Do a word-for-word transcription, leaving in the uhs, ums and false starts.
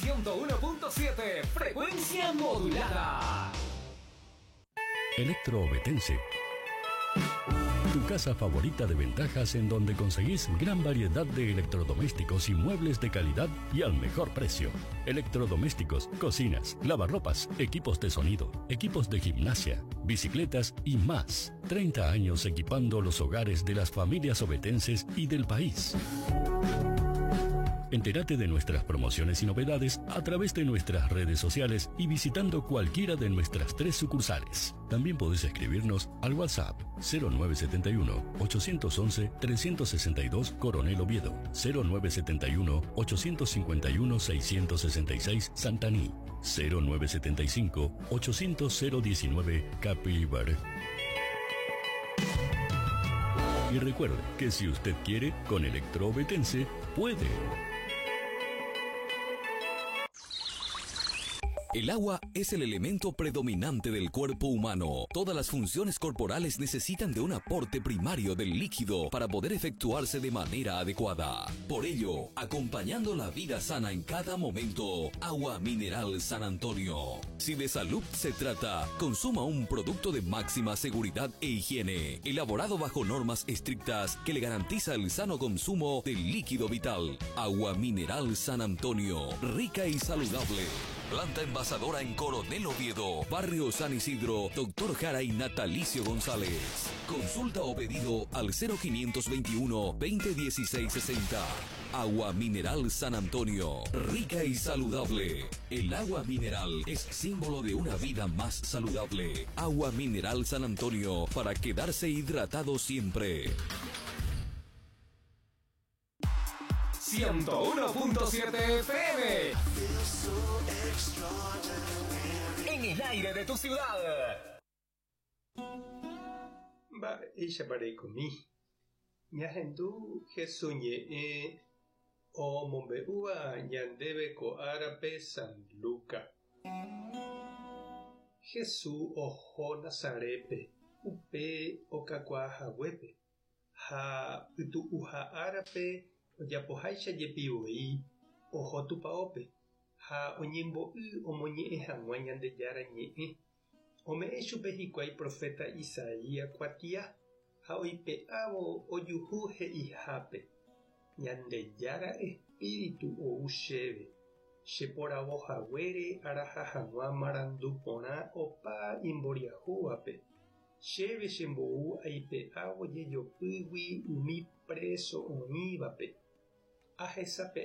ciento uno punto siete, frecuencia modulada. Electro Ovetense. Tu casa favorita de ventajas en donde conseguís gran variedad de electrodomésticos y muebles de calidad y al mejor precio. Electrodomésticos, cocinas, lavarropas, equipos de sonido, equipos de gimnasia, bicicletas y más. treinta años equipando los hogares de las familias ovetenses y del país. Entérate de nuestras promociones y novedades a través de nuestras redes sociales y visitando cualquiera de nuestras tres sucursales. También podés escribirnos al WhatsApp cero nueve setenta y uno, ochocientos once, trescientos sesenta y dos Coronel Oviedo, cero nueve setenta y uno, ochocientos cincuenta y uno, seiscientos sesenta y seis Santaní, cero nueve setenta y cinco, ochocientos cero diecinueve Capibaribe. Y recuerde que si usted quiere, con Electro Ovetense, puede. El agua es el elemento predominante del cuerpo humano. Todas las funciones corporales necesitan de un aporte primario del líquido para poder efectuarse de manera adecuada. Por ello, acompañando la vida sana en cada momento, Agua Mineral San Antonio. Si de salud se trata, consuma un producto de máxima seguridad e higiene, elaborado bajo normas estrictas que le garantiza el sano consumo del líquido vital. Agua Mineral San Antonio, rica y saludable. Planta envasadora en Coronel Oviedo, Barrio San Isidro, Doctor Jara y Natalicio González. Consulta o pedido al cero quinientos veintiuno, veinte dieciséis sesenta. Agua Mineral San Antonio, rica y saludable. El agua mineral es símbolo de una vida más saludable. Agua Mineral San Antonio, para quedarse hidratado siempre. ciento uno punto siete F M. En el aire de tu ciudad. Va, ella parekomi. Ñahendu Jesús ñe'ẽ o mombe'úva ñandéve ko árape San Luca. Jesús oho Nazarepe, upe okakuaahaguépe, ha pytu'uha árape ojapoháicha jepivo'i oho tupaópe, ha oñembo'y omoñe'ẽ hag̃ua Ñandejára ñe'ẽ. Ome'ẽ chupe hikuái profeta Isaías kuatia ha oipe'ávo ojuhu he'ihápe. Ñandejára espíritu ou chéve, cheporavohaguére araha hag̃ua marandu porã opa imboriahúvape. Chéve chembou aipe'ávo jejopýgui umi preso oĩvape. Ahesape